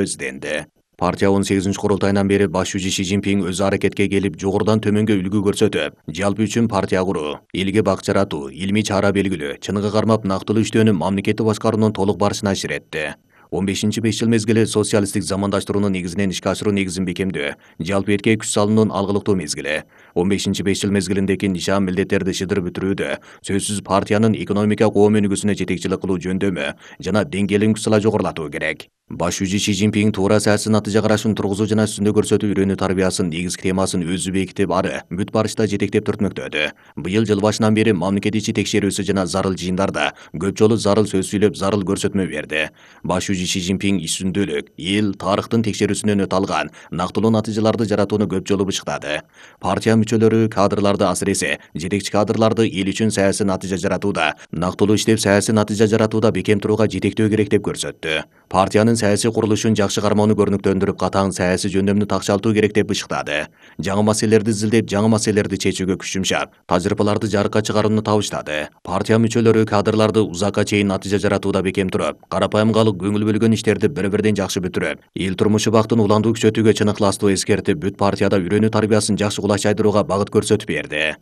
изденди. Партия 18-курултайынан бери баш жүзү Ши Цзиньпин өз аракетке келип, жогорудан төмөнгө үлгү көрсөтүп, жалпы үчүн партия куруу, элге бак жаратуу, илмий чара белгилөө, чыныгы кармап нактылуу иштөөнү мамлекеттик башкаруунун толук барышына аширетти. 15-5 жыл мезгили социалисттик замандаштыруунун негизинен ишке ашыруу негизин бекемдөө, жалпы эркек күч салуунун алгылыктуу мезгили. 15-5 жыл мезгилиндеки нишан милдеттерди шыдырып бүтүрүүдө сөзсүз партиянын экономика коом өнүгүүсүнө жетекчилик кылуу жөндөмү жана деңгээлин күч сала жогорулатуу керек. Баш жүзү Ши Цзиньпин туура саясий натыйжа карашын тургузуу жана үстүндө көрсөтүү үйрөнүү тарбиясын негизги темасын өзү бекитип, ары бүт барышта жетектеп түртмөктөдү. Быйыл жыл башынан бери мамлекет ичи текшерүүсү жана зарыл жыйындарда көп жолу зарыл сөз сүйлөп, зарыл көрсөтмө берди. Баш жүзү Ши Цзиньпин үстүндөлүк, эл тарыхтын текшерүүсүнөн өтө алган нактылуу натыйжаларды жаратууну көп жолу бышыктады. Партия мүчөлөрү кадрларды, асыресе жетекчи кадрларды эл үчүн саясий натыйжа жаратууда, нактылуу иштеп саясий натыйжа жаратууда бекем турууга жетектөө керек деп көрсөттү. Партиянын саясий курулушун жакшы кармоону көрүнүктөндүрүп, катаң саясий жөндөмдү такшалтуу керек деп бышыктады. Жаңы маселелерди изилдеп, жаңы маселелерди чечүүгө күч жумшап, тажрыйбаларды жарыкка чыгарууну табыштады. Партия мүчөлөрү кадрларды узакка чейин натыйжа жаратууда бекем туруп, карапайым калып, көңүл бөлгөн иштерди бири-бирден жакшы бүтүрүп, эл турмушу бактын уландуу күчөтүүгө чыныктуулукту эскертип, бүт партияда үйрөнүү тарбиясын жакшы кулай чайдырууга багыт көрсөтүп берди.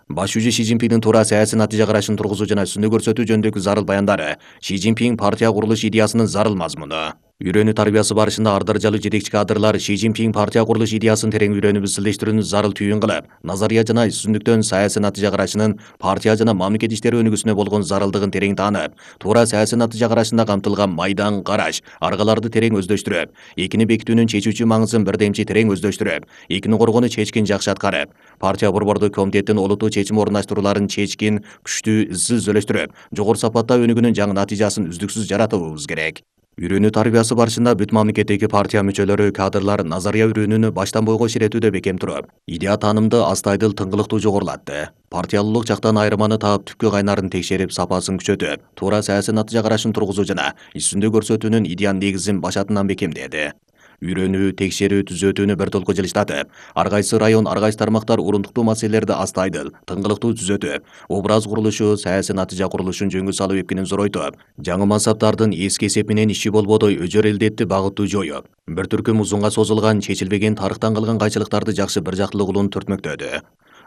Баш жүзү Ши Цзиньпиндин туура саясий натыйжа карашын тургузуу жана үстүндө көрсөтүү жөнүндөгү зарыл баяндары, Ши Цзиньпин партия курулуш идеясынын зарыл мазмуну. Үйрөнүү тарбиясы барышында ар даражалуу жетекчи кадрлар Ши Цзиньпин партия курулуш идеясын терең үйрөнүп, изилдештирүүнү зарыл түйүн кылып, назария жана үстүндүктөн саясий натыйжа карашынын партия жана мамлекет иштери өнүгүүсүнө болгон зарылдыгын терең таанып, туура саясий натыйжа карашында камтылган майдан караш, аргаларды терең өздөштүрүп, экини бекитүүнүн чечүүчү маңызын бирдемчи терең өздөштүрүп, экини коргоону чечкин жакшы аткарып, партия борбордук комитеттин олуттуу чечим орундаштырууларын чечкин, күчтүү, изсиз өздөштүрүп, жогору сапатта өнүгүүнүн жаңы натыйжасын үздүксүз жаратуубуз керек. Үйрөнүү тарбиясы барышында бүт мамлекеттеги партия мүчөлөрү, кадрлар назария үйрөнүүнү баштан бойго ширетүүдө бекем туруп, идея таанымды астайдыл, тыңгылыктуу жогорулатты. Партиялуулук жактан айырманы таап, түпкү кайнарын текшерип, сапасын күчөтүп, туура саясий натыйжа карашын тургузуу жана үстүндө көрсөтүүнүн идеянын негизин башатынан бекемдеди. Үйрөнүү, текшерүү, түзөтүүнү бир толку жылыштатып, ар кайсы район, ар кайсы тармактар урундуктуу маселелерди астайдыл, тыңгылыктуу түзөтүп, образ курулушу, саясий натыйжа курулушун жөнгө салуу эпкинин зоройтуп, жаңы мансаптардын эски эсеп менен иши болбодой өжөр элдетти багыттуу жоюп, бир түркүм узунга созулган, чечилбеген тарыхтан калган кайчылыктарды жакшы бир жактылуу кылууну түртмөктөдү.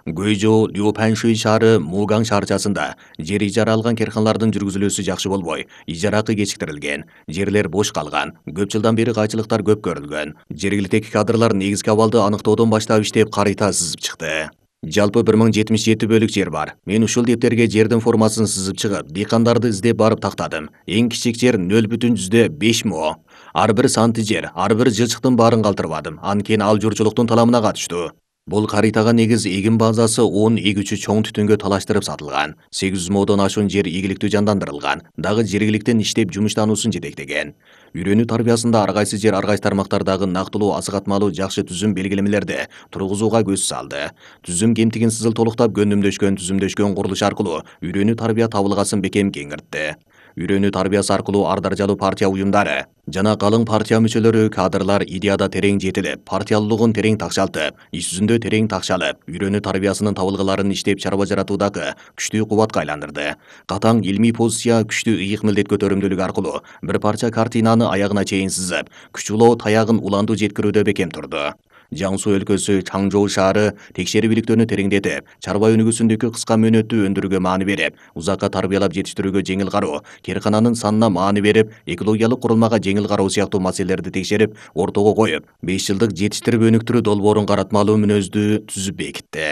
Гуйжоу, Лю-Паньшуй шаары, Мугаң шаарчасында жер ижара алган керканалардын жүргүзүлүүсү жакшы болбой, ижара акы кечиктирилген, жерлер бош калган, көп жылдан бери кайчылыктар көп көрүлгөн. Жергиликтеги кадрлар негизги абалды аныктоодон баштап иштеп, карыйта сызып чыкты. Жалпы 1077 бөлүк жер бар. Мен ушул дептерге жердин формасын сызып чыгып, дыйкандарды издеп барып тактадым. Эң кичик жер 0,5 мо. Ар бир санты жер, ар бир жылчыктын баарын калтырбадым. Анткени ал журчулуктун таламына катыштуу. Бул карыйтага негиз эгин базасы 10 эгүүчү чоң түтүнгө талаштырып сатылган. 800 модон ашуун жер ийгиликтүү жандандырылган. Дагы жергиликтен иштеп жумуштануусун жетектеген. Үйрөнүү тарбиясында ар кайсы жер, ар кайсы тармактардагы нактылуу, асыгатмалуу, жакшы түзүм белгилемелерди тургузууга көз салды. Түзүм кемтигин сызыл толуктап, түзүмдөшкөн курулуш аркылуу үйрөнүү тарбия табылгасын бекем кеңиртти. Үйрөнүү тарбиясы аркылуу ар даражалуу партия уюмдары жана калың партия мүчөлөрү, кадрлар идеяда терең жетилип, партиялуулугун терең такшалтып, иш жүзүндө терең такшалып, үйрөнүү тарбиясынын табылгыларын иштеп чарба жаратуудагы күчтүү кубатка айландырды. Катаң илмий позиция, күчтүү ыйык милдет көтөрүмдүүлүк аркылуу бир парча картинаны аягына чейин сызып, күч улоо таягын уландуу жеткирүүдө бекем турду. Жаңсу өлкөсү, Чаңжоу шаары текшерүү иликтөөнү тереңдетип, чарба өнүгүүсүндөгү кыска мөөнөттүү өндүрүүгө маани берип, узакка тарбиялап жетиштирүүгө жеңил кароо, керкананын санына маани берип, экологиялык курулмага жеңил кароо сыяктуу маселелерди текшерип, ортого коюп, 5 жылдык жетиштирип өнүктүрүү долбоорун каратмалуу мүнөздүү түзүп бекитти.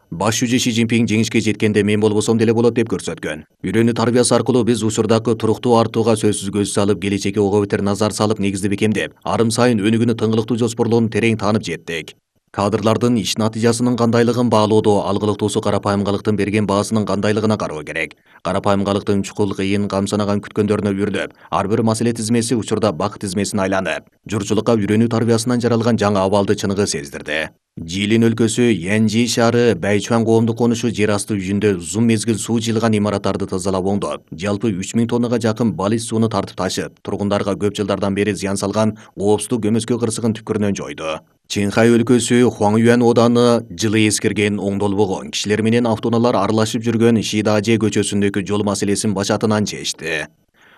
Баш жүзү Ши Цзиньпин жеңишке жеткенде мен болбосом деле болот деп көрсөткөн. Үйрөнүү тарбиясы аркылуу биз учурдагы туруктуу артууга сөзсүз көз салып, келечекке ого бетер назар салып, негизди бекемдеп, арым сайын өнүгүүнү тыңгылыктуу жоспорлоону терең таанып жеттик. Кадрлардын иш натыйжасынын кандайлыгын баалоодо алгылыктуусу карапайымгалыктын берген баасынын кандайлыгына кароо керек. Карапайымгалыктын чукул, кыйын, камсанаган күткөндөрүнө үйүрүлүп, ар бир маселе тизмеси учурда бак тизмесине айланып, журчулукка үйрөнүү тарбиясынан жаралган жаңы абалды чыныгы сездирди. Жилин өлкөсү, Янжи шаары, Байчуан коомдук конушу жер асты үйүндө узун мезгил суу жылган имараттарды тазалап оңдоп, жалпы 3000 тоннага жакын балыч сууну тартып ташып, тургундарга көп жылдардан бери зыян салган коопсуздук көмөскө кырсыгын түпкүрүнөн жойду. Чинхай өлкөсү, Хуаңюан ооданы жылы эскирген, оңдолбогон, кишилер менен автоунаалар аралашып жүргөн Шидаже көчөсүндөгү жол маселесин башатынан чечти.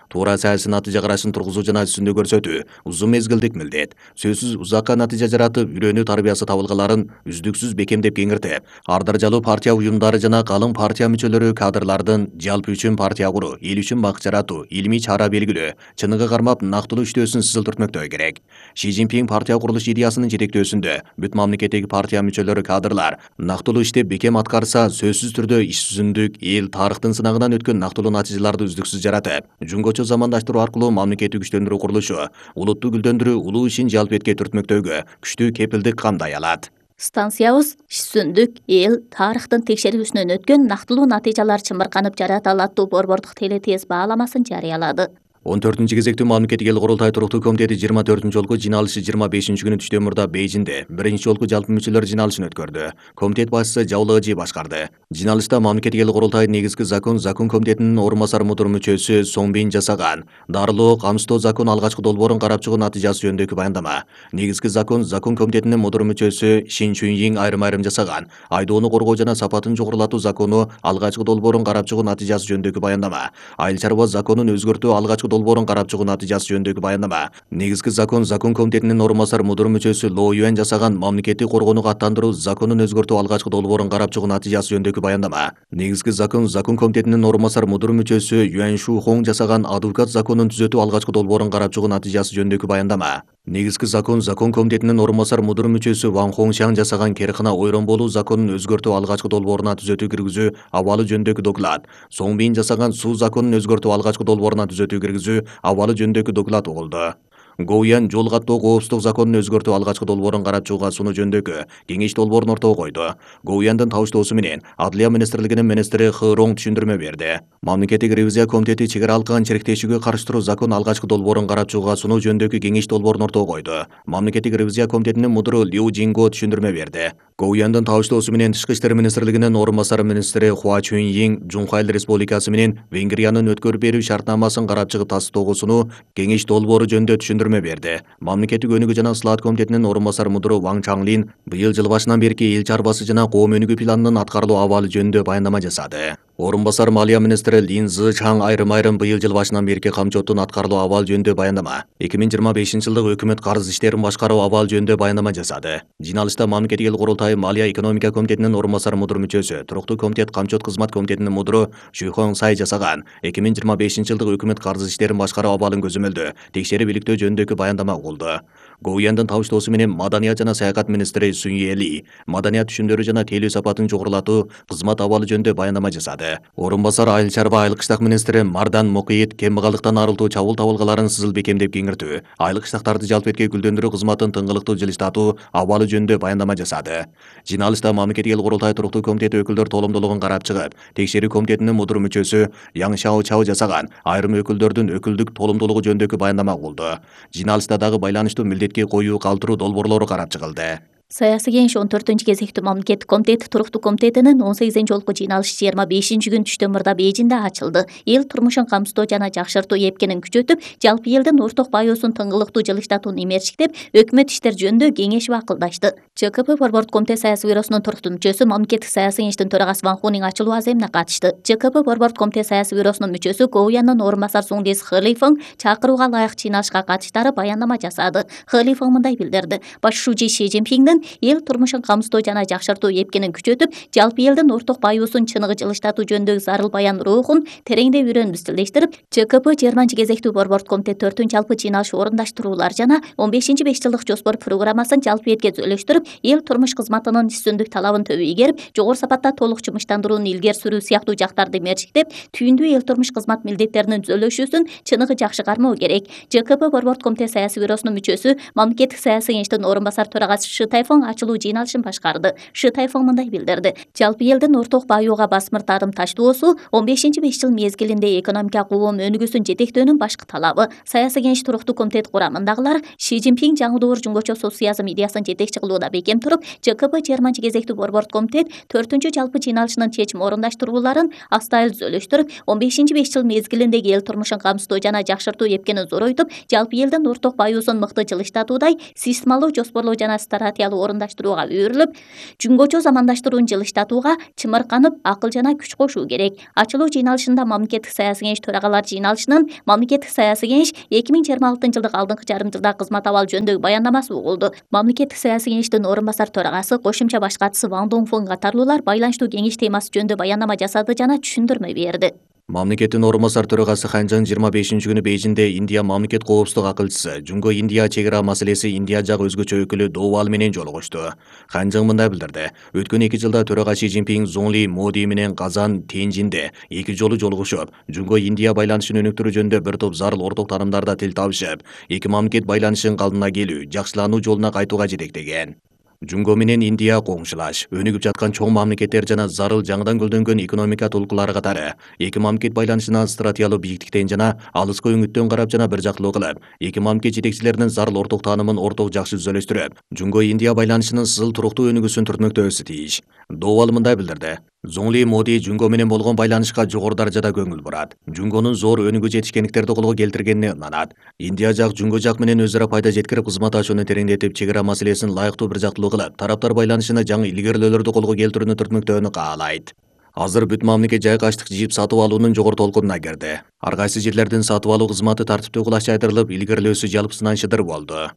Туура саясий натыйжа карашын тургузуу жана үстүндө көрсөтүү узун мезгилдик милдет. Сөзсүз узакка натыйжа жаратып, үйрөнүү тарбиясы табылгаларын үздүксүз бекемдеп кеңиртип, ар даражалуу партия уюмдары жана калың партия мүчөлөрү кадрлардын жалпы үчүн партия куруу, эл үчүн бак жаратуу, илимий чара белгилөө, чыныгы кармап нактылуу иштөөсүн сызылтыртмөктөө керек. Ши Цзиньпин партия курулуш идеясынын жетектөөсүндө бүт мамлекеттеги партия мүчөлөрү кадрлар нактылуу ишти бекем аткарса, сөзсүз түрдө иш жүзүндүк эл тарыхтын сынагынан өткөн нактылуу натыйжаларды үздүксүз жаратып, жөнгөчө замандаштыруу аркылуу мамлекетти күчтөндүрүү курулушу, улутту гүлдөндүрүү улуу ишин жалпы этке түртмөктөөгө күчтүү кепилдик камдай алат. Станциябыз иш жүзүндүк эл тарыхтын текшерүүсүнөн өткөн нактылуу натыйжалар чымырканып жарата алат деп борбордук телетез бааламасын жарыялады. 14-кезектүү мамлекеттик эл курултай туруктуу комитети 24 жолку жыйналышы 25 күнү түштөн Бейжинде 1 жолку жалпы мүчөлөр жыйналышын өткөрдү. Комитет башчысы Жаулы Ыжы башкарды. Жыйналышта мамлекеттик эл курултайдын негизги закон комитетинин орун басар мудур мүчөсү Соңбин жасаган дарылоо камсыздоо закон алгачкы долбоорун карап чыгуу натыйжасы жөнүндөгү баяндама. Негизги закон комитетинин мудур мүчөсү Шин Чүнйин айрым жасаган айдоону коргоо жана сапатын жогорулатуу закону алгачкы долбоорун карап чыгуу натыйжасы жөнүндөгү баяндама. Айыл чарба законун өзгөртүү алгачкы долбоорун карап чыгуу натыйжасы жөнүндөгү баяндама. Негизги закон комитетинин орун басар мудур мүчөсү Ло Юань жасаган мамлекеттик коргоонуга аттандыруу законун өзгөртүү алгачкы долбоорун карап чыгуу натыйжасы жөнүндөгү баяндама. Негизги закон комитетинин орун басар мудур мүчөсү Юань Шу Хонг жасаган адвокат законун түзөтүү алгачкы долбоорун карап чыгуу натыйжасы жөнүндөгү баяндама. Негизги закон комитетинин орун басар мудур мүчөсү Ван Хоңшан жасаган керкына ойрон болуу законун өзгөртүү алгачкы долбооруна түзөтүү киргизүү абалы жөнүндөгү доклад. Соңбин жасаган суу законун өзгөртүү алгачкы долбооруна түзөтүү киргизүү абалы жөнүндөгү доклад болду. Гоуян жол каттоо коопсуздук законун өзгөртүү алгачкы долбоорун карап чыгууга сунуу жөнүндөгү кеңеш долбоорун ортого койду. Гоуяндын табыштоосу менен Адлия министрлигинин министри Хы Ронг түшүндүрмө берди. Мамлекеттик ревизия комитети чек ара алкан чириктешүүгө каршы туруу закон алгачкы долбоорун карап чыгууга сунуу жөнүндөгү кеңеш долбоорун ортого койду. Мамлекеттик ревизия комитетинин мудуру Лю Жинго түшүндүрмө берди. Гоуяндын табыштоосу менен Тышкы иштер министрлигинин орун басары министри Хуа Чунйин Жунхай Республикасы менен Венгриянын өткөрүп берүү шартнамасын карап чыгып тастыктоого сунуу кеңеш долбоору жөнүндө түшүндүрмө берди. Мамлекеттик өнүгүү жана ысылаат комитетинин орун басары мудуру Ван Чанлин быйыл жыл башынан берки эл чарбасы жана коом өнүгүү планынын аткарылуу абалы жөнүндө баяндама жасады. Орун басар малия министри Лин Зы Чаң айрым быйыл жыл башынан берки камчоттун аткарылуу абалы жөнүндө баяндама. 2025-жылдык өкмөт карыз иштерин башкаруу абалы жөнүндө баяндама жасады. Жыйналышта мамлекеттик эл курултайы малия экономика комитетинин орун басар мудур мүчөсү, туруктуу комитет камчот кызмат комитетинин мудуру Шүйхон Сай жасаган 2025-жылдык өкмөт карыз иштерин башкаруу абалын көзөмөлдөө, текшерип иликтөө жөнүндөгү баяндама болду. Гоуяндын табыштоосу менен маданият жана саякат министри Сунь Эли маданият түшүмдөрү жана тейлөө сапатын жогорулатуу кызмат абалы жөнүндө баяндама жасады. Орун басар айыл чарба айыл кыштак министри Мардан Мукийит кембагалыктан арылтуу чабуул табылгаларын сызыл бекемдеп кеңиртүү, айыл кыштактарды жалпы этке гүлдөндүрүү кызматын тыңгылыктуу жылыштатуу абалы жөнүндө баяндама жасады. Жыйналышта мамлекеттик эл курултай туруктуу комитети өкүлдөр толомдуулугун карап чыгып, текшерүү комитетинин мудур мүчөсү Яң Шао Чао жасаган айрым өкүлдөрдүн өкүлдүк толомдуулугу жөнүндөгү баяндама болду. Жыйналышта дагы байланыштуу милдетке коюу калтыруу долбоорлору карап чыгылды. Саясий кеңеш 14-кезектүү мамлекеттик комитет туруктуу комитетинин 18-жолку жыйналышы 25-күнү түштөн Бейжинде ачылды. Эл турмушун камсыздоо жана жакшыртуу эпкенин күчөтүп, жалпы элдин орток баюусун тыңгылыктуу жылыштатууну имерчиктеп, өкмөт иштер жөнүндө кеңешип акылдашты. ЧКП борбордук комитет саясий бюросунун туруктуу мүчөсү мамлекеттик саясий кеңештин төрагасы Ван Хуның ачылуу аземине катышты. ЧКП борбордук комитет саясий бюросунун мүчөсү Гоуяндын орун басар Суңдис Хылифың чакырууга ылайык жыйналышка катыштары баяндама жасады. Хылифың мындай билдирди: башчы Ши Цзиньпиндин эл турмушун камсыздоо жана жакшыртуу эпкенин күчөтүп, жалпы элдин орток баюусун чыныгы жылыштатуу жөнүндөгү зарыл баян рухун тереңдеп үйрөнүп стилдештирип, ЧКП 20-кезектүү борбордук комитет 4-жалпы жыйналыш орундаштыруулар жана 15 5 жылдык жоспор программасын жалпы этке өзөлөштүрүп, эл турмуш кызматынын үстүндүк талабын төбө ийгерип, жогору сапатта толук жумуштандырууну илгери сүрүү сыяктуу жактарды мерчиктеп, түйүндүү эл турмуш кызмат милдеттеринин түзөлүшүүсүн чыныгы жакшы кармоо керек. ЧКП борбордук комитет саясий бюросунун мүчөсү мамлекеттик саясий кеңештин орун басар төрагасы Шы Тайфың ачылуу жыйналышын башкарды. Шы Тайфың мындай билдирди: жалпы элдин орток баюуга басмыр тарым таштоосу 15 5 жыл мезгилинде экономика коом өнүгүүсүн жетектөөнүн башкы талабы. Саясий кеңеш туруктуу комитет курамындагылар Ши Цзиньпин жаңы жөнгөчө социализм идеясын жетекчи кылууда бекем туруп, ЧКП 20-кезектүү борбордук комитет 4-жалпы жыйналышынын чечим орундаштырууларын астайыл түзөлүштүрүп, 15 5 жыл мезгилиндеги эл турмушун камсыздоо жана жакшыртуу эпкенин зоройтуп, жалпы элдин орток баюусун мыкты жылыштатуудай системалуу жоспорлоо жана стратегиялык материалы орундаштырууга өөрүлүп, жүнгөчө замандаштыруун жылыштатууга чымырканып, акыл жана күч кошуу керек. Ачылуу жыйналышында Мамлекеттик саясий кеңеш төрагалар жыйналышынын Мамлекеттик саясий кеңеш 2026-жылдык алдыңкы жарым жылда кызмат абалы жөнүндөгү баяндамасы угулду. Мамлекеттик саясий кеңештин орун басар төрагасы, кошумча баш катчысы Ван Донгфун катарлуулар байланыштуу кеңеш темасы жөнүндө баяндама жасады жана түшүндүрмө берди. Мамлекеттин орун басар төрагасы Хан Чжан 25-күнү Бейжиңде Индия мамлекет коопсуздук акылчысы, Жунго Индия чек ара маселеси Индия жак өзгөчө өкүлү Довал менен жолугушту. Хан Чжан мындай билдирди: өткөн 2 жылда төрага Ши Цзиньпин Зоңли Моди менен Казан, Тяньжинде 2 жолу жолугушуп, Жунго Индия байланышын өнүктүрүү жөнүндө бир топ зарыл орток таанымдарда тил табышып, эки мамлекет байланышын калдына келүү, жакшылануу жолуна кайтууга жетектеген. Жунго менен Индия коңшулаш, өнүгүп жаткан чоң мамлекеттер жана зарыл жаңыдан гүлдөнгөн экономика толкулары катары эки мамлекет байланышына стратегиялык бийиктиктен жана алыска өңүттөн карап жана бир жактылуу кылып, эки мамлекет жетекчилеринин зарыл орток таанымын орток жакшы түзөлөштүрүп, Жунго Индия байланышынын сызыл туруктуу өнүгүүсүн түртмөктөбүсү тийиш. Довал мындай билдирди: Зоңли Моди Жунго менен болгон байланышка жогору даражада көңүл бурат. Жунгонун зор өнүгүү жетишкендиктерди колго келтиргенине ынанат. Индия жак Жунго жак менен өз ара пайда жеткирип, кызматташууну тереңдетип, чек ара маселесин лайыктуу бир жактылуу кылып, тараптар байланышына жаңы илгерилөөлөрдү колго келтирүүнү түртмөктөөнү каалайт. Азыр бүт мамлекет жайкы аштык жийип сатып алуунун жогору толкунуна кирди. Ар кайсы жерлердин сатып алуу кызматы тартиптүү кулачайтырылып, илгерилөөсү жалпысынан шыдыр болду.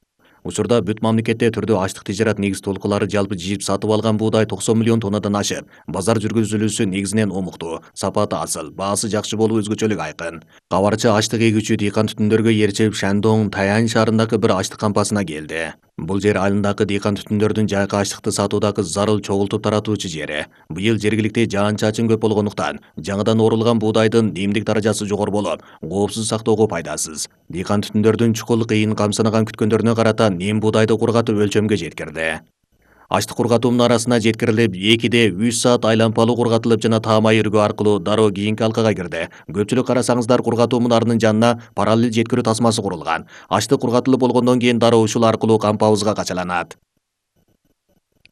Учурда бүт мамлекетте түрдүү аштык тижарат негиз толкулары жалпы жийип сатып алган буудай 90 миллион тоннадан ашып, базар жүргүзүлүүсү негизинен омуктуу, сапаты асыл, баасы жакшы болуу өзгөчөлүк айкын. Кабарчы аштык эгүүчү дыйкан түтүндөргө ээрчип Шандong, Таянь шаарындагы бир аштык кампасына келди. Бул жер айылындагы дыйкан түтүндөрдүн жайкы аштыкты сатуудагы зарыл чогултуп таратуучу жери. Быйыл жергиликте жаан-чачын көп болгондуктан, жаңыдан орулган буудайдын немдик даражасы жогору болуп, коопсуз сактоого пайдасыз. Дыйкан түтүндөрдүн чукул кыйын камсынаган күткөндөрүнө карата нем буудайды кургатып өлчөмгө жеткирди. Аштык кургатуунун арасына жеткирилип, 2-3 саат айлампалуу кургатылып жана таамай өргөө аркылуу дароо кийинки алкага кирди. Көпчүлүк карасаңыздар, кургатуу мунарынын жанына параллель жеткирүү тасмасы курулган. Аштык кургатылып болгондон кийин дароо ушул аркылуу кампабызга качаланат.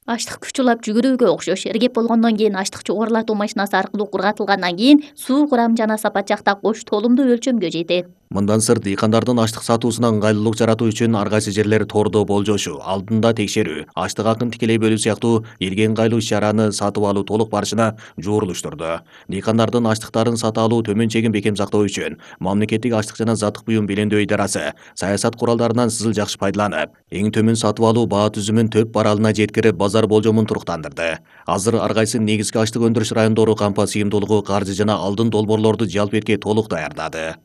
Аштык күч улап жүгүрүүгө окшош. Эргеп болгондон кийин аштык жогорулатуу машинасы аркылуу кургатылгандан кийин суу курамы жана сапат жакта кош толумдуу өлчөмгө жетет. Мындан сырт, дыйкандардын аштык сатуусуна ыңгайлуулук жаратуу үчүн ар кайсы жерлер тордо болжошу, алдында текшерүү, аштык акын тикелей бөлүү сыяктуу элге ыңгайлуу иш-чараны сатып алуу толук барышына жуурулуштурду. Дыйкандардын аштыктарын сата алуу төмөн чегин бекем сактоо үчүн Мамлекеттик аштык жана заттык буюм белемдөө идарасы саясат куралдарынан сызыл жакшы пайдаланып, эң төмөн сатып алуу баа түзүмүн төп баралына жеткирип, базар болжомун туруктандырды. Азыр ар кайсы негизги аштык өндүрүш райондору кампа сыйымдуулугу, каржы жана алдын долбоорлорду жалп этке толук даярдады.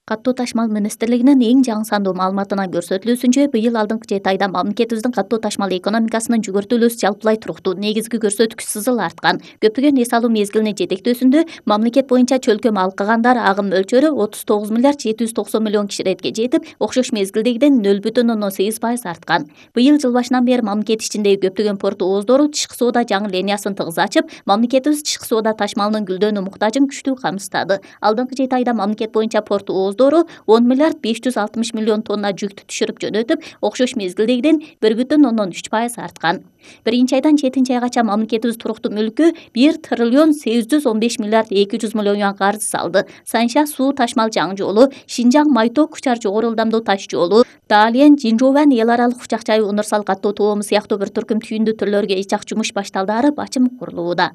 Каттуу ташмал министрлигинин эң жаңы сандуу маалыматынан көрсөтүлүүсүнчө, быйыл алдыңкы 7 айда мамлекетибиздин каттуу ташмал экономикасынын жүгүртүүлүүсү жалпылай туруктуу, негизги көрсөткүч сызыл арткан. Көптөгөн эс алуу мезгилинин жетектөөсүндө мамлекет боюнча чөлкөм алкагандар агым мөлчөрү 39 миллиард 790 миллион киширетке жетип, окшош мезгилдегиден 0,8% арткан. Быйыл жыл башынан бери мамлекет ичиндеги көптөгөн порт ооздору тышкы соода жаңы линиясын тыгыз ачып, мамлекетибиз тышкы соода ташмалынын гүлдөнүү муктажын күчтүү камсыздады. Алдыңкы 7 айда мамлекет боюнча порт ооздору 10 миллиард 560 миллион тонна жүктү түшүрүп жөнөтүп, окшош мезгилдегиден 1,3% арткан. Биринчи айдан 7 айгача мамлекетибиз туруктуу мүлккө 1 триллион 815 миллиард 200 миллион юан каржы салды. Санша суу ташмал жаңы жолу, Шинжаң Майток Кучар жогору ылдамдуу таш жолу, Далиен Жинжован эл аралык учак жайы универсал каттоо тоому сыяктуу бир түркүм түйүндүү түрлөргө ичак жумуш башталдаары бачым курулууда.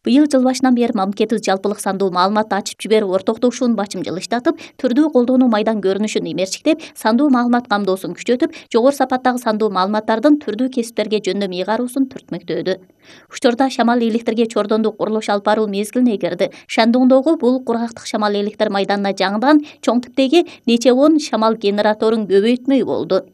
Быйыл жыл башынан бери мамлекетибиз жалпылык сандуу маалыматты ачып жиберип, ортоктошуун бачым жылыштатып, түрдүү колдонуу майдан көрүнүшүн эмерчиктеп, сандуу маалымат камдоосун күчөтүп, жогору сапаттагы сандуу маалыматтардын түрдүү кесиптерге жөндөм ыйгаруусун түртмөктөөдү. Учурда шамал электирге чордондуу курулуш алып баруу мезгилине кирди. Шандоңдогу бул кургактык шамал электр майданына жаңыдан чоң типтеги нече 10 шамал генераторун көбөйтмөй болду.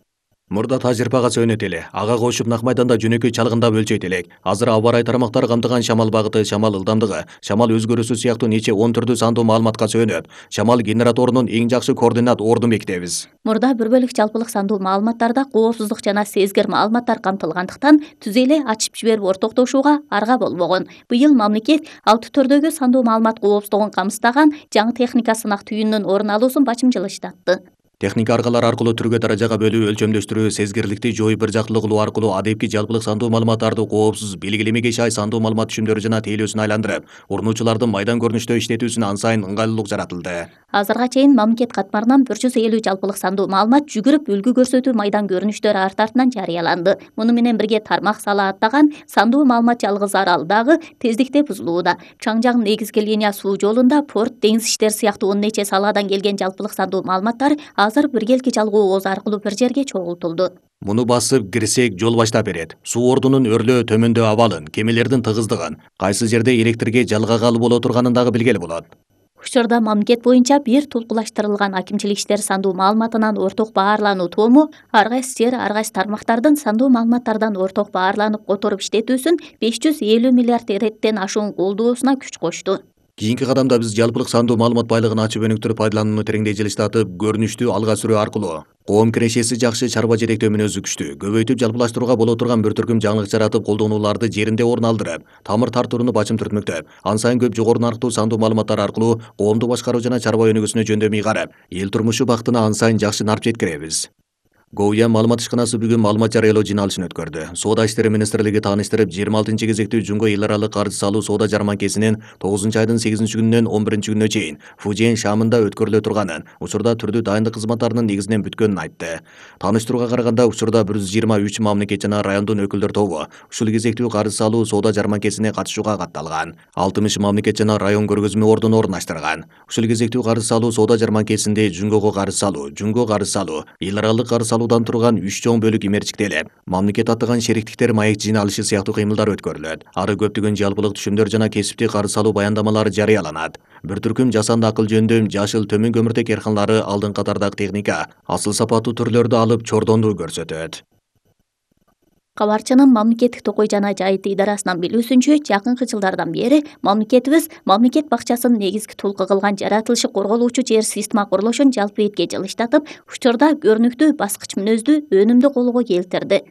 Мурда тажрыйбага сөнөт эле, ага кошуп нак майданда жөнөкөй чалгындап өлчөйт элек. Азыр аба ырай тармактары камтыган шамал багыты, шамал ылдамдыгы, шамал өзгөрүүсү сыяктуу нече 10 түрдүү сандуу маалыматка сөнөп, шамал генераторунун эң жакшы координат ордун бекитебиз. Мурда бир бөлүк жалпылык сандуу маалыматтарда коопсуздук жана сезгир маалыматтар камтылгандыктан түз эле ачып жиберип ортоктошууга арга болбогон. Быйыл мамлекет 6 түрдөгү сандуу маалымат коопсуздугун камсыздаган жаңы техника сынак түйүнүнүн орун алуусун бачым жылыштатты. Техника аркалар аркылуу түргө даражага бөлүү, өлчөмдөштүрүү, сезгирликти жоюп бир жактылык кылуу аркылуу адепки жалпылык сандуу маалыматтарды коопсуз, белгилемеге шай сандуу маалымат түшүмдөрү жана тейлөөсүн айландырып, урунуучулардын майдан көрүнүштө иштетүүсүнө ан сайын ыңгайлуулук жаратылды. Азырга чейин мамлекет катмарынан 150 жалпылык сандуу маалымат жүгүрүп үлгү көрсөтүү майдан көрүнүштөрү арт-артынан жарыяланды. Муну менен бирге тармак сала аттаган сандуу маалымат жалгыз арал дагы тездикте бузулууда. Чаңжаң негизги линия суу жолунда порт, деңиз иштери сыяктуу 10 нече саладан келген жалпылык сандуу маалыматтар азыр биргелки жалгоо ооз аркылуу бир жерге чогултулду. Муну басып кирсек жол баштап берет. Суу ордунун өрлөө төмөндөө абалын, кемелердин тыгыздыгын, кайсы жерде электрге жалгагалы боло турганын дагы билгеле болот. Учурда мамлекет боюнча бир тулкулаштырылган акимчилик иштер сандуу маалыматынан орток баарлануу тому ар кайсы жер, ар кайсы тармактардын сандуу маалыматтардан орток баарланып которуп иштетүүсүн 550 миллиард эреттен ашуун колдоосуна күч кошту. Кийинки кадамда биз жалпылык сандуу маалымат байлыгын ачып өнүктүрүп пайдаланууну тереңдей жылыштатып, көрүнүштү алга сүрүү аркылуу коом кирешеси жакшы чарба жетектөө мүнөзү күчтүү, көбөйтүп жалпылаштырууга боло турган бир түркүм жаңылык жаратып, колдонууларды жеринде орун алдырып, тамыр тартууну бачым түртмөктөп, ан сайын көп жогору нарктуу сандуу маалыматтар аркылуу коомду башкаруу жана чарба өнүгүүсүнө жөндөмүй карап, эл турмушу бактына ан сайын жакшы нарп жеткиребиз. Гоуя маалымат ишканасы бүгүн маалымат жарыялоо жыйналышын өткөрдү. Соода иштери министрлиги тааныштырып, 26 кезектүү жунго эл аралык каржы салуу соода жарманкесинин 9-айдын 8-күнүнөн 11-күнүнө чейин Фужиен шаамында өткөрүлө турганын, учурда түрдүү дайындык кызматтарынын негизинен бүткөнүн айтты. Тааныштырууга караганда, учурда 123 мамлекет жана райондун өкүлдөр тобу ушул кезектүү каржы салуу соода жарманкесине катышууга катталган. 60 мамлекет жана район көргөзмө ордун орундаштырган. Ушул кезектүү каржы салуу соода жарманкесинде жунгого каржы салуу, эл аралык каржы салуудан турган 3 чоң бөлүк имерчиктелип, мамлекет аттаган шериктиктер маек жыйналышы сыяктуу кыймылдар өткөрүлөт. Ары көптөгөн жалпылык түшүмдөр жана кесиптик каржы салуу баяндамалары жарыяланат. Бир түркүм жасанды акыл жөндөм, жашыл төмөн көмүртек эрканлары алдыңкы катардагы техника, асыл сапаттуу түрлөрдү алып чордонду көрсөтөт. Кабарчынын мамлекеттик токой жана жайыт идарасынан билүүсүнчө, жакынкы жылдардан бери мамлекетибиз мамлекет бакчасын негизги тулкы кылган жаратылышы корголуучу жер система курулушун жалпы этке жылыштатып, учурда көрүнүктүү, баскыч мүнөздүү, өнүмдүү колго келтирди.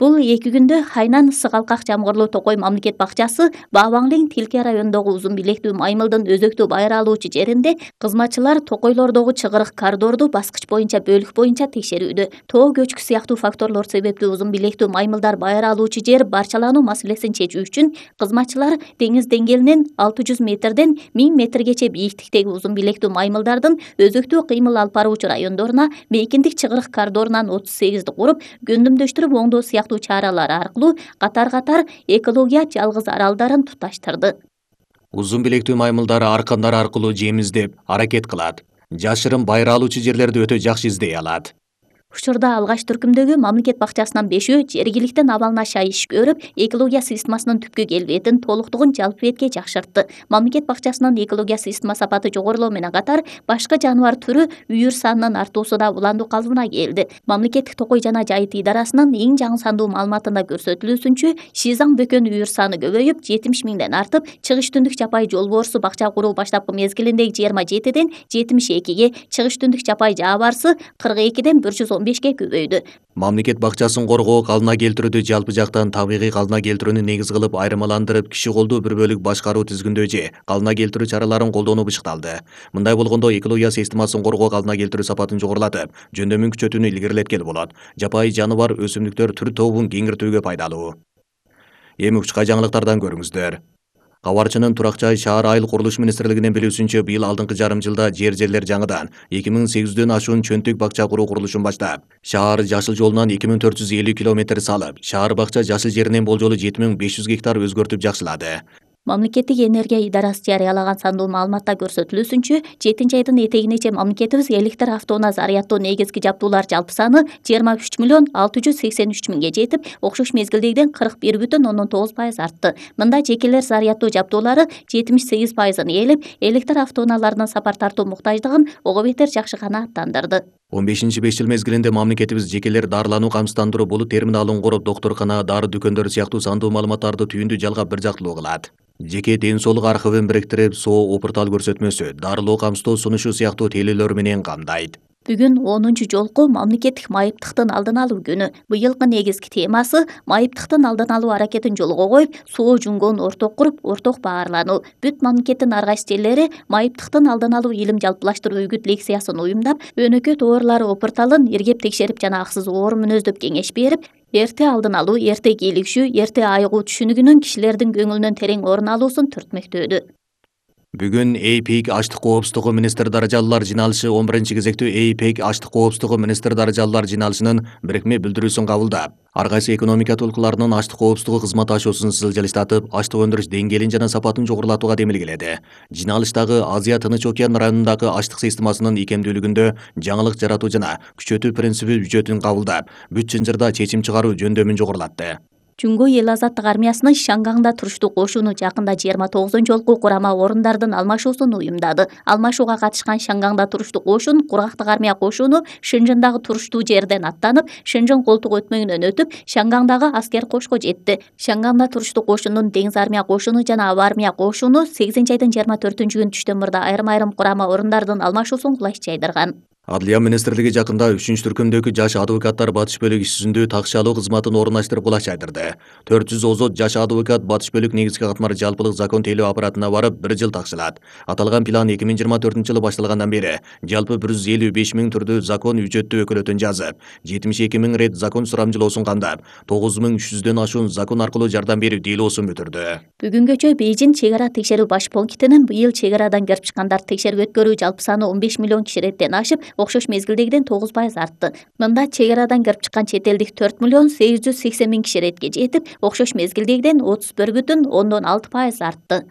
Бул 2 күндө Хайнан Сыгалкак жамгырлуу токой мамлекет бакчасы Баабаңлиң Тилке районундагы узун билектүү маймылдын өзөктүү байыр алуучу жеринде кызматчылар токойлордогу чыгырык коридорду баскыч боюнча бөлүк боюнча текшерүүдө. Тоо көчкү сыяктуу факторлор себептүү узун билектүү маймылдар байыр алуучу жер барчалануу маселесин чечүү үчүн кызматчылар деңиз деңгээлинен 600 метрден 1000 метргече бийиктиктеги узун билектүү маймылдардын өзөктүү кыймыл алып баруучу райондоруна мейкиндик чыгырык коридорунан 38-ди куруп, гөндүмдөштүрүп оңдоо сыяктуу чаралар аркылуу катар-катар экология жалгыз аралдарын туташтырды. Узун билектүү маймылдар аркандар аркылуу жем издеп, аракет кылат. Жашырын байыр алуучу жерлерди өтө жакшы издей алат. Учурда алгач түркүмдөгү мамлекет бакчасынын 5-өө жергиликтен абалына шай иш көрүп, экология системасынын түпкү келбетин, толуктугун жалпы этке жакшыртты. Мамлекет бакчасынын экология система сапаты жогорулоо менен катар, башка жаныбар түрү үйүр санынын артуусу да уландуу калыбына келди. Мамлекеттик токой жана жайыт идарасынын эң жаңы сандуу маалыматында көрсөтүлүүсүнчө, Шизаң бөкөн үйүр саны көбөйүп, 70 миңден артып, чыгыш түндүк жапай жол боорусу бакча куруу баштапкы мезгилиндеги 27ден 72ге, чыгыш түндүк жапай жаа барысы 42ден 115ге көбөйдү. Мамлекет бакчасын коргоо, калына келтирүүдү жалпы жактан табигый калына келтирүүнү негиз кылып айырмаландырып, киши колдуу бир бөлүк башкаруу тизгиндөө же калына келтирүү чараларын колдонуу бышыкталды. Мындай болгондо экология системасын коргоо, калына келтирүү сапатын жогорулатып, жөндөмүн күчөтүүнү илгерилеткеле болот. Жапайы жаныбар, өсүмдүктөр түр тобун кеңиртүүгө пайдалуу. Эми учка жаңылыктардан көрүңүздөр. Кабарчынын Турак жай шаар айыл курулуш министрлигинин билүүсүнчө, быйыл алдыңкы жарым жылда жерлер жаңыдан 2800дөн ашуун чөнтүк бакча куруу курулушун баштап, шаар жашыл жолунан 2450 километр салып, шаар бакча жашыл жеринен болжолу 7500 гектар өзгөртүп жакшылады. Мамлекеттик энергия идарасы жарыялаган сандуу маалыматта көрсөтүлүүсүнчө, 7-айдын этегинече мамлекетибиз электр автоунаа зарядтоо негизги жабдуулар жалпы саны 23 миллион 683 миңге жетип, окшош мезгилдегиден 41,9% артты. Мында жекелер зарядтоо жабдуулары 78%-ын ээлеп, электр автоунааларынын сапар тартуу муктаждыгын ого бетер жакшы канааттандырды. 15 жыл мезгилинде мамлекетибиз жекелер дарылануу камсыздандыруу болут терминалын куруп, доктуркана, дары дүкөндөрү сыяктуу сандуу маалыматтарды түйүндү жалгап бир жактылуу кылат. Жеке ден соолук архивин бириктирип, соо опуртал көрсөтмөсү, дарылоо камсыздоо сунушу сыяктуу тейлөөлөр менен камдайт. Бүгүн 10 жолку мамлекеттик майыптыктын алдын алуу күнү. Быйылкы негизги темасы майыптыктын алдын алуу аракетин жолго коюп, соо жүнгөн орток куруп, орток баарлануу. Бүт мамлекеттин ар кайсы жерлери майыптыктын алдын алуу илим жалпылаштыруу үгүт лекциясын уюмдап, өнөкөт оорулары опурталын иргеп текшерип жана аксыз оор мүнөздөп кеңеш берип, эрте алдын алуу, эрте кийлигишүү, эрте айыгуу түшүнүгүнүн кишилердин көңүлүнөн терең орун алуусун түртмөктөдү. Бүгүн ЭйПИК аштык коопсуздугу министр даражалуулар жиналышы 11-кезектүү ЭйПИК аштык коопсуздугу министр даражалуулар жиналышынын бирикме билдирүүсүн кабылдап, ар кайсы экономика толкуларынын аштык коопсуздугу кызматташуусун жылжытып, аштык өндүрүш деңгээлин жана сапатын жогорулатууга демилгеледи. Жиналыштагы Азия Тынч океан районундагы аштык системасынын икемдүүлүгүндө жаңылык жаратуу жана күчөтүү принциби бүжөтүн кабылдап, бүт Чынжырда чечим чыгаруу жөндөмүн жогорулатты. Жумго эл азаттык армиясынын Шангаңда туруштук кошуну жакында 29-жолку курама орундардын алмашуусун уюмдады. Алмашууга катышкан Шангаңда туруштук кошун кургактык армия кошуну Шынжыңдагы туруштуу жерден аттанып, Шынжың колтук өтмөйүнөн өтүп, Шангаңдагы аскер кошко жетти. Шангаңда туруштук кошунун Деңиз армия кошуну жана аба армия кошуну 8-айдын 24-күнү түштөн мурда айрым курама орундардын алмашуусун кулаш жайдырган. Адлия министрлиги жакында 3-түркүмдөгү жаш адвокаттар батыш бөлүк иш-жүзүндө такшы алуу кызматын орундаштырып кулаш жайдырды. 400 озот жаш адвокат батыш бөлүк негизги катмар жалпылык закон тейлөө аппаратына барып 1 жыл такшылат. Аталган план 2024-жылы башталгандан бери жалпы 155 000 түрдүү закон үчөттүү өкөлөтүн жазып, 72 000 рет закон сурамжылоосун камдап, 9300дөн ашуун закон аркылуу жардам берүү делоосун бүтүрдү. Бүгүнгөчө Бейжин чек ара текшерүү баш пунктинин быйыл чек арадан кирип чыккандарды текшерип өткөрүү жалпы саны 15 миллион киши реттен ашып, окшош мезгилдегиден 9% артты. Мында чек арадан кирип чыккан чет элдик 4 миллион 880 000 киши ретке жетип, окшош мезгилдегиден 31,6% артты.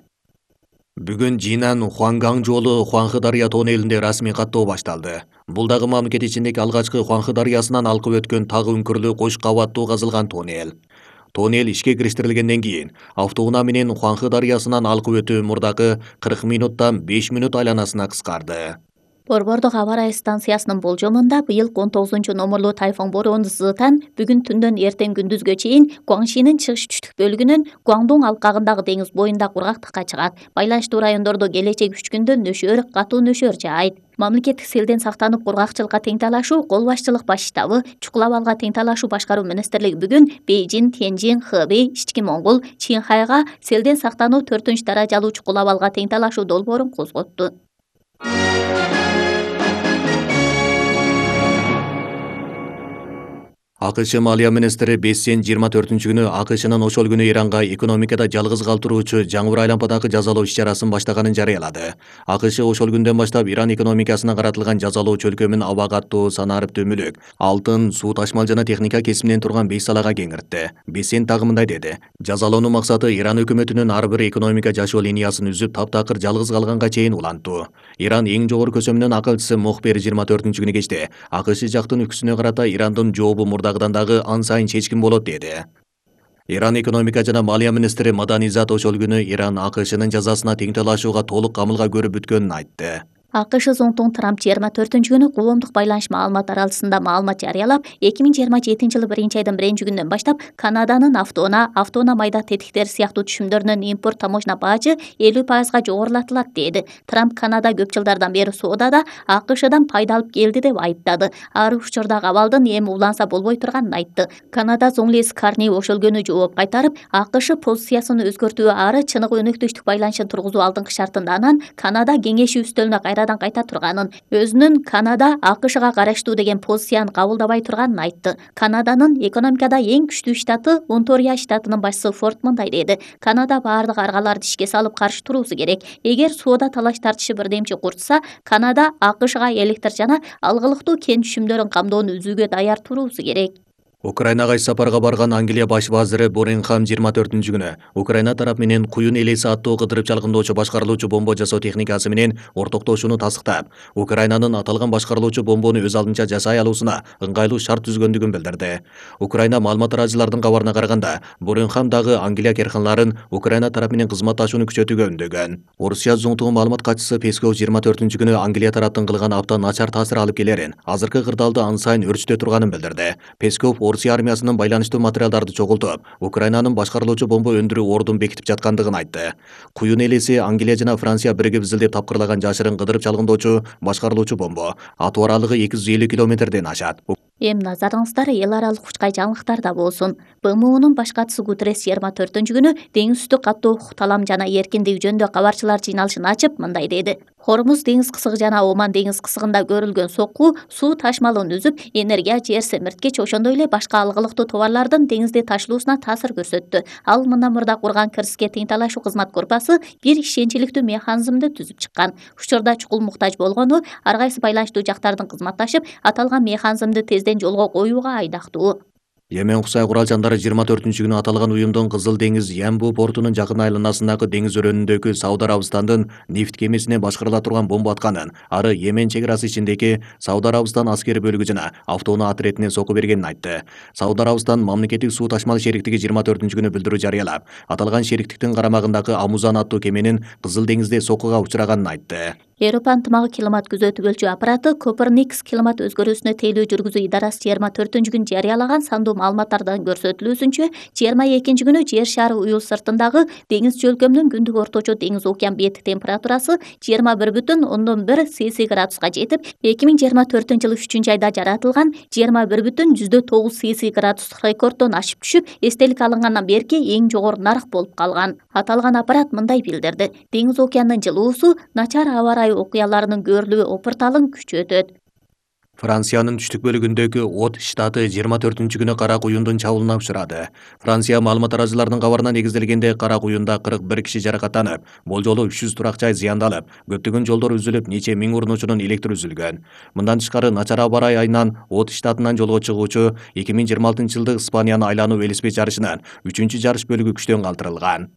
Бүгүн Жинан Хуангаң жолу Хуанхэ дарыя тоннелинде расмий каттоо башталды. Бул дагы мамлекет ичиндеги алгачкы Хуанхэ дарыясынан алкып өткөн тагы үңкүрлүү кош кабаттуу казылган тоннел. Тоннел ишке кириштирилгенден кийин автоунаа менен Хуанхэ дарыясынан алкып өтүү мурдакы 40 минуттан 5 минут айланасына кыскарды. Борбордук аба ырайы станциясынын болжомунда быйыл 19-номурлуу тайфун бороону Зытан бүгүн түндөн эртең күндүзгө чейин Гуаңшинин чыгыш түштүк бөлүгүнөн Гуаңдуң алкагындагы деңиз боюнда кургактыкка чыгат. Байланыштуу райондордо келечек 3 күндө нөшөр, катуу нөшөр жаайт. Мамлекеттик селден сактанып кургакчылыкка тең талашуу кол башчылык баш штабы, чукул абалга тең талашуу башкаруу министрлиги бүгүн Бейжин, Тяньжин, Хэбэй, Ички Моңгол, Чинхайга селден сактануу 4-даражалуу чукул абалга тең талашуу долбоорун козготту. АКШ малия министри Бессен 24-күнү АКШнын ошол күнү Иранга экономикада жалгыз калтыруучу жаңбыр айланпадагы жазалоо иш-чарасын баштаганын жарыялады. АКШ ошол күндөн баштап Иран экономикасына каратылган жазалоо чөлкөмүн аба каттоо, санариптүү мүлүк, алтын, суу ташмал жана техника кесиминен турган 5 салага кеңиртти. Бессен дагы мындай деди: жазалоонун максаты Иран өкмөтүнүн ар бир экономика жашоо линиясын үзүп, таптакыр жалгыз калганга чейин улантуу. Иран эң жогору көсөмүнүн акылчысы Мохбер 24-күнү кечте АКШ жактын үкүсүнө карата Ирандын жообу мурдагыдан дагы ан сайын чечкин болот деди. Иран экономика жана малия министри Маданизат ошол күнү Иран АКШнын жазасына тең талашууга толук камылга көрүп бүткөнүн айтты. АКШ зондун Трамп 24-күнү коомдук байланыш маалымат аралсында маалымат жарыялап, 2027-жылы 1-айдын 1-күнүнөн баштап Канаданын автоунаа майда тетиктер сыяктуу түшүмдөрүнүн импорт таможня бажы 50% жогорулатылат деди. Трамп Канада көп жылдардан бери соодада АКШдан пайда алып келди деп айыптады. Ар учурдагы абалдын эми уланса болбой турганын айтты. Канада Зоңлис Карни ошол күнү жооп кайтарып, АКШ позициясын өзгөртүү ары чыныгы өнөктөштүк байланышын тургузуу алдыңкы шартында, анан Канада кеңеши үстөлүнө кайта турганын, өзүнүн Канада АКШга караштуу деген позицияны кабылдабай турганын айтты. Канаданын экономикада эң күчтүү штаты Онторио штатынын башчысы Форд мындай деди: Канада баардык аргаларды ишке салып каршы туруусу керек. Эгер соода талаш тартышы бирдемчи курчса, Канада АКШга электр жана алгылыктуу кен түшүмдөрүн камдоону үзүүгө даяр туруусу керек. Украинага иш сапарга барган Англия баш вазиры Боренхам 24-күнү Украина тарап менен куюн элеси аттуу кыдырып чалгындоочу башкарылуучу бомба жасоо техникасы менен ортоктошууну тастыктап, Украинанын аталган башкарылуучу бомбону өз алдынча жасай алуусуна ыңгайлуу шарт түзгөндүгүн билдирди. Украина маалымат тараачылардын кабарына караганда, Боренхам дагы Англия керканларын Украина тарап менен кызматташууну күчөтүүгө үндөгөн. Орусия зоңтугу маалымат катчысы Песков 24-күнү Англия тараптын кылган абдан начар таасир алып келерин, азыркы кырдаалды ан сайын өрчүтө турганын билдирди. Песков Орусия армиясынын байланыштуу материалдарды чогултуп, Украинанын башкарылуучу бомба өндүрүү ордун бекитип жаткандыгын айтты. Куюн элеси Англия жана Франция биригип изилдеп тапкырлаган жашырын кыдырып чалгындоочу башкарылуучу бомба атуу аралыгы 250 километрден ашат. Эми назарыңыздар эл аралык учкай жаңылыктарда болсун. БМУнун баш катчысы Гутеррес 24-күнү деңиз үстү каттуу талам жана эркиндик жөнүндө кабарчылар жыйналышын ачып мындай деди. Хормуз деңиз кысыгы жана Оман деңиз кысыгында көрүлгөн сокку суу ташмалын үзүп, энергия жер семирткич ошондой эле башка алгылыктуу товарлардын деңизде ташылуусуна таасир көрсөттү. Ал мындан мурда курган кирске тең талашуу кызмат группасы бир ишенчиликтүү механизмди түзүп чыккан. Учурда чукул муктаж болгону ар кайсы байланыштуу жактардын кызматташып, аталган механизмди тезден жолго коюуга айдактуу. Йемен кусай курал жандары 24-күнү аталган уюмдун Кызыл деңиз Ямбу портунун жакын айланасындагы деңиз өрөөнүндөгү Сауд Арабистандын нефт кемесине башкарыла турган бомба атканын, ары Йемен чек арасы ичиндеги Сауд Арабистан аскери бөлүгү жана автоунаа отрядине сокку бергенин айтты. Сауд Арабистан мамлекеттик суу ташмал шериктиги 24-күнү билдирүү жарыялап, аталган шериктиктин карамагындагы Амузан аттуу кеменин Кызыл деңизде соккуга учураганын айтты. Европа ынтымагы климат күзөтүүлчү аппараты Коперникс климат өзгөрүүсүнө тейлөө жүргүзүү идарасы 24-күнү жарыялаган сандуу маалыматтардан көрсөтүлүүсүнчө 22-күнү жер шары уюл сыртындагы деңиз чөлкөмүнүн күндүк орточо деңиз океан бети температурасы 21,1 Цельсий градуска жетип, 2024-жылы 3-айда жаратылган 21,9 Цельсий градустук рекорддон ашып түшүп, эстелик алынгандан берки эң жогору нарк болуп калган. Аталган аппарат мындай билдирди. Деңиз океандын жылуусу начар аба ырайы окуяларынын көрүлүү опурталын күчөтөт. Франциянын түштүк бөлүгүндөгү От штаты 24-күнү кара куюндун чабуулуна учурады. Франция маалымат арачыларынын кабарына негизделгенде кара куюнда 41 киши жаракаттанып, болжолу 300 турак жай зыяндалып, көптөгөн жолдор үзүлүп, нече миң урунуучунун электр үзүлгөн. Мындан тышкары начар аба ырайы айынан От штатынан жолго чыгуучу 2026-жылдык Испанияны айлануу велосипед жарышынан 3-жарыш бөлүгү күчтөн калтырылган.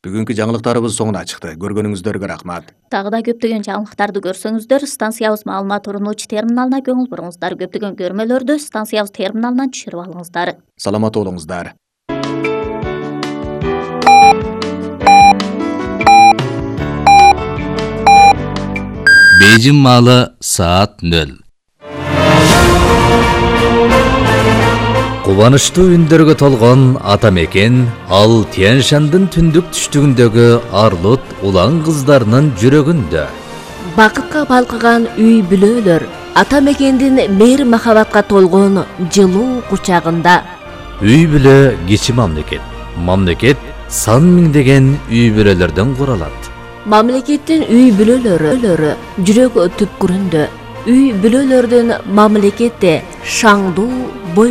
Бүгүнкү жаңылыктарыбыз соңуна чыкты. Көргөнүңүздөргө рахмат. Дагы да көптөгөн жаңылыктарды көрсөңүздөр, станциябыз маалымат уруунуучу терминалына көңүл буруңуздар. Көптөгөн көрмөлөрдү станциябыз терминалынан түшүрүп алыңыздар. Саламат болуңуздар. Бейжин маалы саат 0. Кубанычтуу үндөргө толгон ата мекен ал Тянь-Шандын түндүк түштүгүндөгү арлут улан кыздарынын жүрөгүндө. Бакытка балкыган үй бүлөлөр ата мекендин мейир махабатка толгон жылуу кучагында. Үй бүлө кичи мамлекет. Мамлекет сан миңдеген үй бүлөлөрдөн куралат. Мамлекеттин үй бүлөлөрү жүрөк түпкүрүндө. Үй бүлөлөрдүн мамлекетте шаңдуу бой